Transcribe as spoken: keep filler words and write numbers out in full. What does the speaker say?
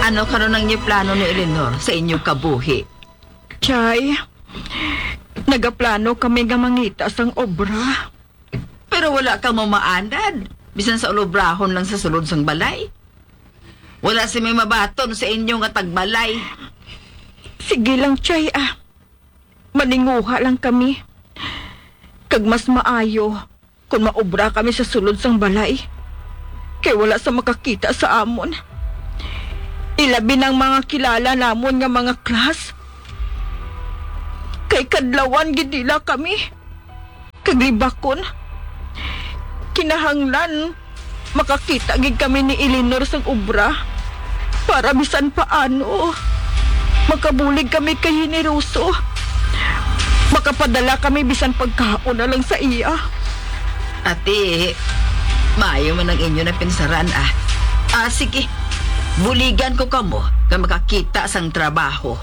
Ano karon ang inyo plano ni Eleanor sa inyo kabuhi? Chay, nagaplano kami nga mangita sang obra. Pero wala ka mamaanad, bisan sa ulobrahon lang sa sulod sang balay. Wala si may mabaton sa inyo nga tagbalay. Sige lang, Chay, ah. Maninguha lang kami. Kag mas maayo kung maobra kami sa sulod sang balay, kay wala sa makakita sa amon. Ilabi na ang mga kilala namon nga mga class. Kay kadlawan gid nila kami. Kag libakon, kinahanglan makakita gid kami ni Eleanor sang obra para bisan paano makabulig kami kay Generoso. Makapadala kami bisan pagkaon na lang sa iya. Ate, maayo man ang inyo napinsaran, ah. Ah, sige. Buligan ko kamo nga makakita sang trabaho.